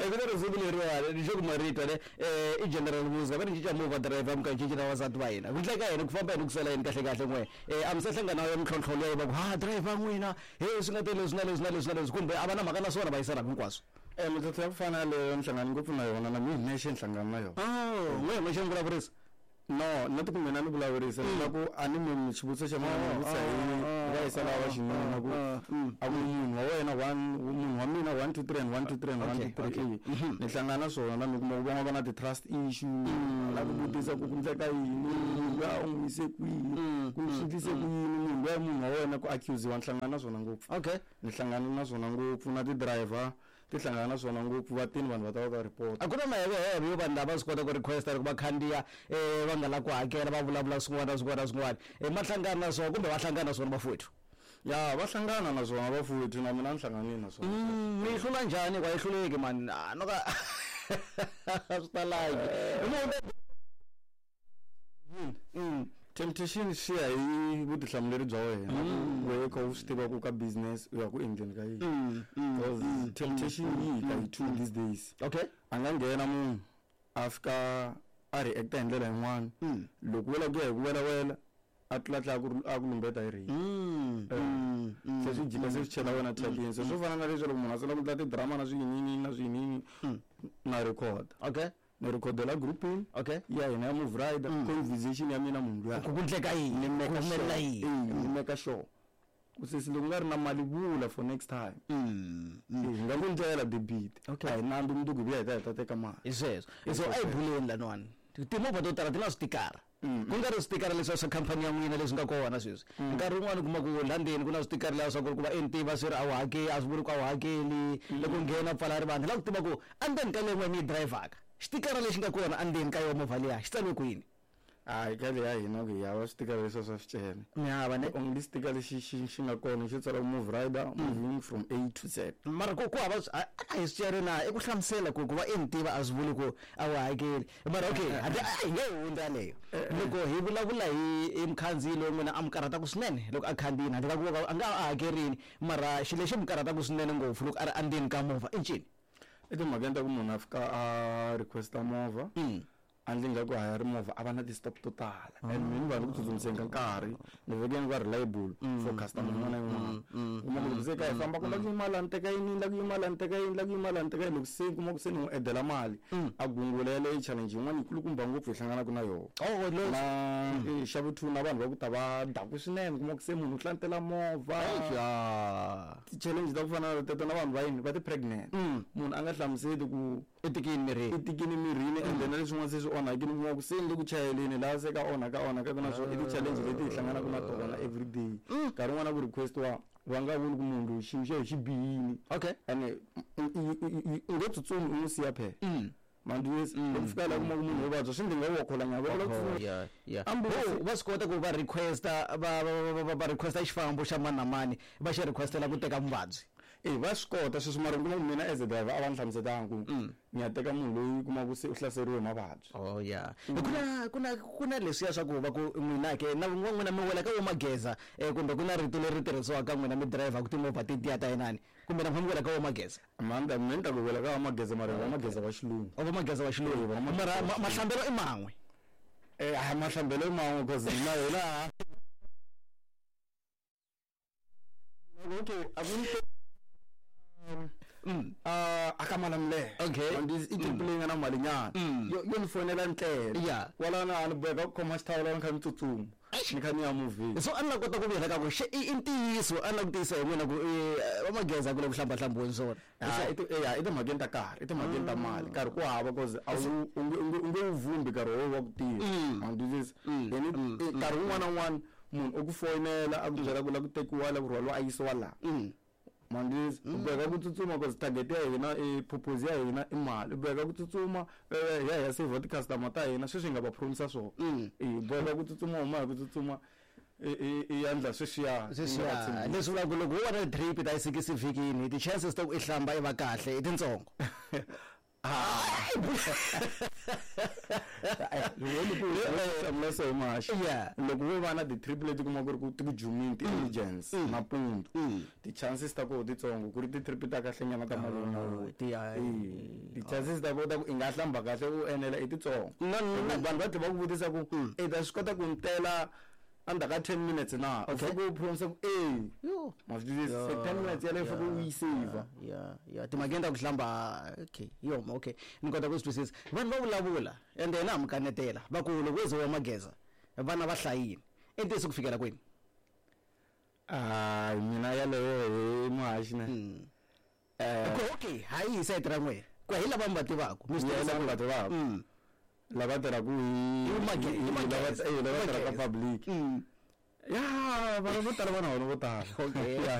Ku na risimu leriwani ni xo kuma rito ne i General Muzi va ni cinca movha driver mi ka cinci na vavasati va hina ku ndleka yini ku famba yini ku sala yini kahle kahle n'we a mi se hlangana na mintlhontlho leyo va ku ha driver n'wina he swi nga te leswi na leswi na leswi na leswi kumbe a va na mhaka na swona va yisana hinkwaswo. Mintlhontlho ya ku fana na yaleyo ni hlangane ngopfu na yona na mina hi nexe ni hlangana na yona. Oh, n'we hi xi vulavurisa. No, not ku mina ni vulavurisa ni vula ku a ni mi xivutiso xa mina ni vutisa hi va yisa lava va xinuna ku a ku munhu wa wena one munhu wa mina 1 2 3 and 1 2 3 and 1 2 3 ni hlangana na swona na mi kuma ku van'wana va na ti-trust issue la ku vutisa ku ku ndleka yini munhu luya u n'wi yise kwihi ku swi ndlise ku yini munhu luya munhu wa wena ku accuse-iwa ni hlangana na swona ngopfu. Okay. Ni hlangana na swona ngopfu na ti-driver ti hlangana na swona ngopfu va tini vanhu va ta va ta report. A ku na maheveheve yo vanhu lava va swi kota ku request loko va khandziya va nga lavi ku hakela va vulavula swin'wana na swin'wana na swin'wana ma hlangana na swona kumbe va hlangana na swona vafowethu? Ya va hlangana na swona vafowethu na mina ni hlanganile na swona. Mi yi hlula njhani hikuva a yi hluleki mani a no ka a swi talangi. Temptation swi ya hi vutihlamuleri bya wena ku wehe kha u swi tiva ku ka business u ya ku endleni ka yini because temptation yi hi ka hi two these days. Okay. A nga nghena munhu a fika a react-a hi ndlela yin'wana loko wo lava ku ya hi ku welawela a tlula tlula ku a ku lumbeta hi rape. Se swi jika se swi chela wena thyakeni se swo fana na leswi loko munhu a sungula ku endla ti-drama na swiyiniyini na swiyiniyini na record. Okay. Ni rhikhodela groupini Okay. ya hina ya Move Rider conversation ya mina munhu luya. Ku ku ndleka yini? Ni Ku make humelela sure. yini? Eh, ni make sure. Ku sesi loko u nga ri na mali vula for next time. Eh, hi nga ku ndlela debit. Okay. A hi nandzu mundzuku hi vuya hi ta hi ta teka mali. Hi sweswo. So a hi buleni laniwani. Timovha to tala ti na switikara. Ku nga ri switikara leswiya swa khampani ya n'wina leswi nga kona sweswi. Nkarhi wun'wani u kuma ku la ndzeni ku na switikara laha swa ku ri ku va NT va swi ri a wu hakeli a swi vuli ku a wu hakeli. Loko u nghena u pfala rivanti. Ni lava ku tiva ku endzeni ka leyi n'wina mi yi dirayivhaka xitikara lexi nga kona endzeni ka yona movha liya xi tsariwe ku yini? Hayi ka leya hina ku hi hava switikara leswiya swa swicele. Mi hava ne? The only sticker lexi xi xi nga kona xo tsala Move Rider moving from A to Z. Mara ku ku hava a hi swicele na i ku hlamusela ku ku va i ni tiva a swi vuli ku a wu hakeli. Mara okay handle a hi nge yi hundzi yaleyo. Loko hi vulavula hi hi mukhandziyi loyi n'wina a mi karhataka swinene loko a khandziyile handle ka ku va a nga va a hakerile mara xilo lexi mi karhataka swinene ngopfu loko a ri endzeni ka movha i ncini? Etimhakeni ta ku munhu a fika a request-a movha a ndli nga ku hayari movha a va na ti-stop to tala and mina ni va ni ku tsutsumiseni ka nkarhi ni veke ni va reliable for customer yin'wana na yin'wana. Kuma ku loko se ka hi famba ku la ku yima la ni teka yini la ku yima la ni teka yini la ku yima la ni teka yini loko se ni kuma ku se ni n'wi edela mali a gungula yaleyo i challenge yin'wana yikulukumba ngopfu hi hlanganaka na yona. Na xa vu two na vanhu va ku ta va dakwe swinene kuma ku se munhu u hlantela movha. Ti-challenge ta ku fana na teto na vanhu va yini va ti-pregnant munhu a nga hlamuseli ku I tikini mirini. I tikini mirini ende na leswin'wana se swi onhakile u kuma ku se ni le ku chayeleni laha se ka onhaka onhaka na swona i ti-challenge leti hi hlanganaka na tona everyday nkarhi wun'wana ku request-iwa va nga vuli ku munhu loyi xiyimo xa yena xi bihile Okay. ene u nge tsutsumi u n'wi siya phela mandiwesi loko fika laha kuma ku munhu wo vabya swi ndzi nga wa kholanya va la ku Yeah, yeah. Ambulance. Oh, va swi kota ku va request-a va va va va va request-a xifambo xa mani na mani va xi request-ela ku teka muvabyi. E va swi kota sweswo mara u kuma ku mina as a driver a va ni hlamusetanga ku ni ya teka munhu loyi u kuma ku se u hlaseriwe hi mavabyi. Oh yeah. Ku na ku na ku na leswiya swa ku va ku n'wina ke na n'wina mi wela ka vo mageza kumbe ku na rito leri tirhisiwaka ka n'wina mi dirayivhaka timovha tetiya ta inani kumbe na n'wina mi wela ka vo mageza. Mhani ta mina ni ta ku wela ka va mageza mara hi va mageza va xilungu. O va mageza va xilungu. Eh, va mageza Mara va xilungu. mahlambelo i man'we. Eh, a mahlambelo i man'we cause na hina okay a ku ni a ka Malamulele. Okay. I trip leyi nga na mali nyana. Yo yo ni fonela ndlela. Yeah. Kwalano a ni boheka ku khoma xithawula ni kha ni tsutsuma. Ni kha ni ya movheni. So a ni la kota ku vuyela ka ku xe i ntiyiso a ni la ku tiyisa hi n'wina ku va mageza ku le ku hlambahlambiweni swona. Ya i ti ya i timhakeni ta karhi i timhakeni ta mali nkarhi ku hava cause a wu u nge u nge u nge wu vhumbi nkarhi wo wa ku tirha. Ma ni twisisa? Then nkarhi wun'wana na wun'wana munhu u ku foyinela a ku byela ku la ku tekiwa la ku rhwaliwa a yisiwa laha. Ma ni twisisa? U boheka ku tsutsuma cause target ya hina i purpose ya hina i mali u boheka ku tsutsuma hi ya hi ya saver ti-customer ta hina sweswi hi nga va promisa swona. E u boheka ku tsutsuma u huma hi ku tsutsuma i ya endla sweswiya. Sweswiya leswi vulaka ku loko wo va na drip ta yi sikisi vhikini ti-chances ta ku i hlamba i va kahle i tintsongo. Loko so much. Loko wo va na ti-trip leti kuma ku ri ku ti ku jumini ti-agents nampundzu, ti-chances ta koho titsongo ku ri ti-trip ta kahlenyana ta malume, ti-chances ta koho ta ku i nga hlamba kahle u enela i titsongo. Vanhu va tlhe va ku vutisa ku i ta swi kota ku ni tela endzhaku ka 10 minutes na? U fike u promise ku e ma swi twisisa, se 10 minutes yaleyo fike u yi save. Ya, timhakeni ta ku hlamba, okay, yoma, okay, ni kota ku swi twisisa. Vanhu va vulavula ende hina ha mi kanetela, va ku loko wo ze wa mageza vana va hlayini. I ntiyiso ku fikela kwini? Hayi, mina yaleyo hi muhaxi ne. Ku okay, hayi hi sayiti ra n'wehe, ku hi lava mi va tivaka mi swi Yeah, tivisa lava ku va tivaka. Lava tirhaka hi Hi lava hi lava tirhaka mageza. public. Ya, vanhu vo tala va na vona vo tala. Okay. Yeah.